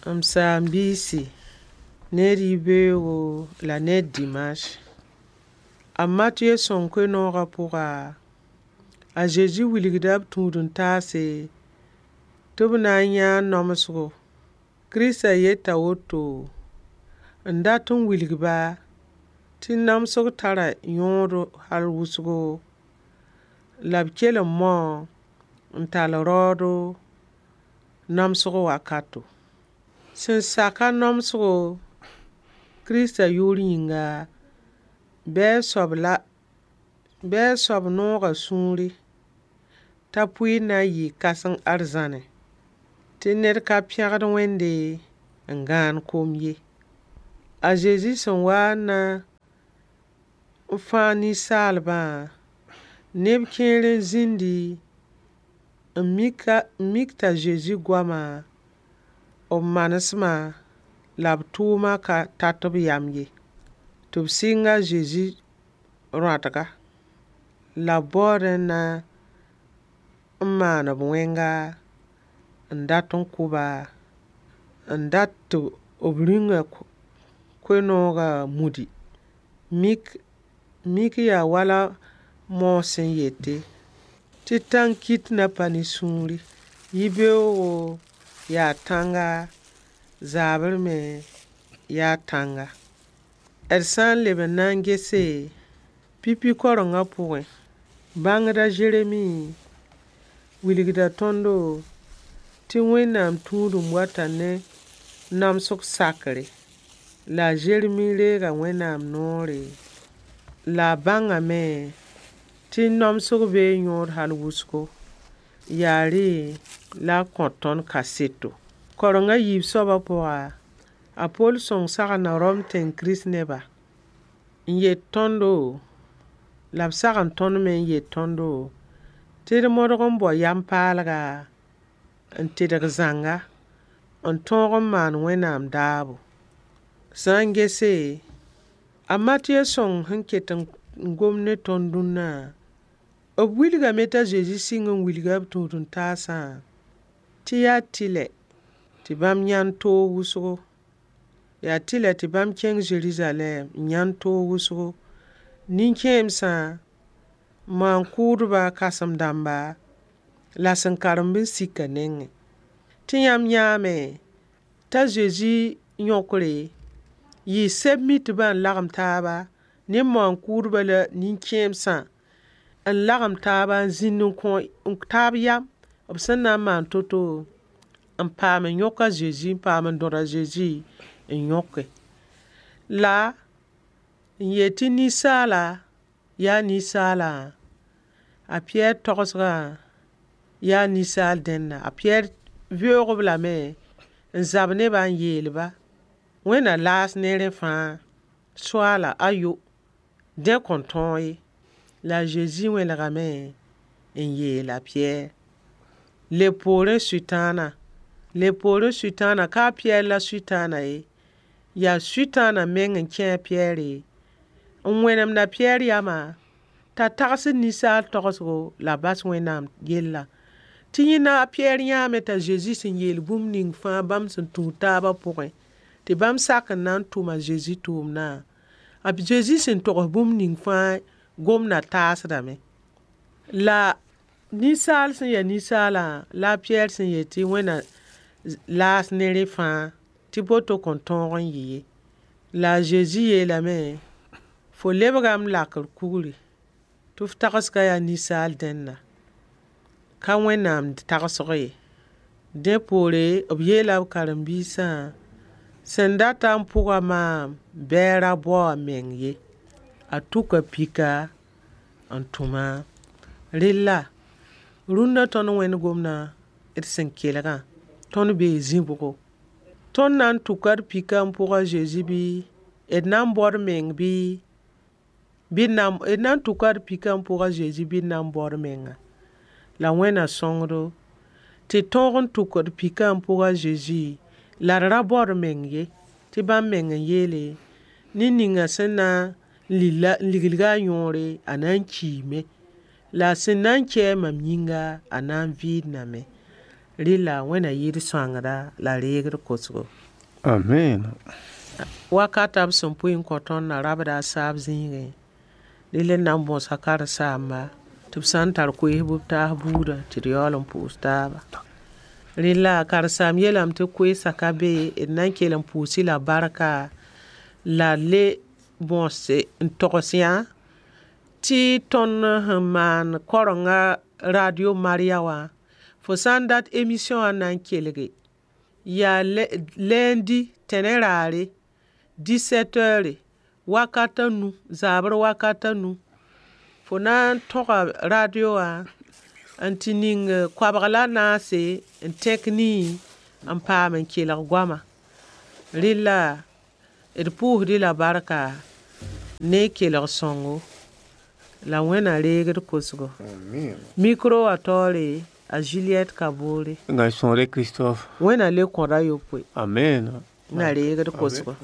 M saam-biisi, ned yibeoogo la ned dimanche. A Matɩyɛ sõng koe-noogã pʋga, a Zezi wilgda b tũud-n-taase tɩ b na n yãag namsgo. Kiristã yeta woto n dat n wilg-ba tɩ namsg tara yõod hal wʋsgo, la b kell n mao n tall raoodo namsg wakato. Sẽn sak-a namsgo Kiristã yʋʋr yĩnga, bɩ a soab noog a sũuri t'a pʋɩɩr na n yɩɩ kãseng arzãnẽ, tɩ ned ka pẽgd Wẽnde n gãan kom ye. A Zezi sẽn wa n na n fãag ninsaalbã, neb kẽer n zĩndi n mik t'a Zezi goama, b manesmã la b tʋʋmã ka tat b yam ye, tɩ b sɩng a Zezi rõatga, la b baoodẽ n na n maan b wẽnga n dat n kʋ-ba, n dat tɩ b rĩnga koe-noogã mudi. Mik yaa wala Moos sẽn yete tɩ tãn-kit na pa ne sũuri. Yibeoogo yaa tãnga, zaabr me yaa tãnga. D sã n leb n na n gese, pipi kaorengã pʋgẽ, bãngd a Zeremi wilgda tõndo tɩ Wẽnnaam tũudem wata ne namsg sakre. La a Zeremi reega Wẽnnaam noore, la a bãngame tɩ namsg bee yõod hal wʋsgo. Yaa rẽ la a kõ tõnd kaseto. Kaoreng a yiib soabã pʋga, a Pol sõng sagenda Rom tẽng Kirist-neba n yet tõndo, la b sagend tõnd me n yet tõndo tɩ d modg n bao yam-paalga, n tedg zãnga, n tõog n maan Wẽnnaam daabo. Sã n gese, a Matɩyɛ sõng sẽn ket n gom ne tõnd dũnna, b wilgame t'a Zezi sɩng n wilga b tũud-n-taasã tɩ yaa tɩlɛ tɩ bãmb yãnd toog wʋsgo. Yaa tɩlɛ tɩ bãmb kẽng Zerizalɛɛm n yãnd toog wʋsgo. Nin-kẽemsã, maan-kʋʋdbã kãsem-dãmba, la sẽn karemb n sik a nengẽ. Tɩ yãmb yãame t'a Zezi yõkre yɩ sɛb-mitbã n lagem taaba ne maan-kʋʋdbã la nin-kẽemsã n lagem taaba n zĩnd n kõ taab yam b sẽn na n maan to-to n paam n yõk a Zezi, n paam n dõd a Zezi n yõke. La n yet tɩ ninsaala yaa ninsaala, a Piyɛr togsgã yaa ninsaal dẽnna. A Piyɛr veoog-b lame n zab ne-ba n yeel-ba, Wẽnna laas ne rẽ fãa. Soaala, ayo, dẽ kõn tõog ye. La a Zezi wẽlegame n yeel a Piyɛr: leb poorẽ Sʋtãana, leb poorẽ Sʋtãana, ka a Piyɛr la Sʋtãana ye, yaa Sʋtãana meng n kẽ a Piyɛre n wẽnemd a Piyɛr yamã t'a tagsd ninsaal togsgo la a bas Wẽnnaam yellã. Tɩ yẽnda a Piyɛr yãame t'a Zezi sẽn yeel bũmb ning fãa bãmb sẽn tũud taabã pʋgẽ, tɩ bãmb sak n na n tʋm a Zezi tʋʋmdã. A Zezi sẽn togs bũmb ning fãa gomdã taasdame. La ninsaal sẽn ya ninsaalã la a Piyɛr sẽn yet tɩ Wẽnna laas ne rẽ fãa, tɩ boto kõn tõog n yɩ ye. La a Zezi yeelame, fo lebga m lakr kugri, tɩ f tagsgã yaa ninsaal dẽnna, ka Wẽnnaam tagsg ye. Dẽ poore, b yeela b karen-biisã, sẽn data n pʋga maam, bɩ a ra bao a meng ye. A tʋka pika n tũ maam. Rella, rũnna tõnd wẽnd gomdã d sẽn kelgã, tõnd bee zĩ-bʋgo. Tõnd na n tʋka d pika n pʋg a Zezi bɩ, d na n bao d meng bɩ, d na n tʋka d pika n pʋg a Zezi bɩ d na n bao d menga. La Wẽnna sõngdo tɩ tõog n tʋk d pika n pʋg a Zezi, la d ra bao d meng ye, tɩ bãmb meng n yeele, ned ninga sẽn na n liglga a yõore, a na n kiime. La sẽn na n kɛ mam yĩnga, a na n vɩɩndame. Rɩla Wẽnna yɩ d sõangda la reeg d kosgo. Amen. Wakata b sẽn pʋɩ n kõ tõnd na rabda a saab zĩigẽ, rɩl n na n bõsa karen-saamba tɩ b sã n tar koees bɩ b taas buudã tɩ d yaool n pʋʋs taaba. Rɩla karen-saam yeelame tɩ koeesã ka be, d na n kell n pʋʋs-y la barka la le bõose n togs yã tɩ tõnd sẽn maan karenga Radio Maria wã, fo sã n dat émission wã na n kelge, yaa lundi tẽne raare 17 heures wakata nu, zaabr wakata nu, fo na n tõga radio wã n tɩ ning koabg la naase n tẽk nii n paam n kelg goama. Rɩla d pʋʋsd-y la barka ne kelg sõngo la Wẽnna reeg d kosgo. Micro wã taoore a Juliette Kabore. Ngai sõore Christophe. Wẽnna le kõda yopoe. Amen. Na reeg d kosgo.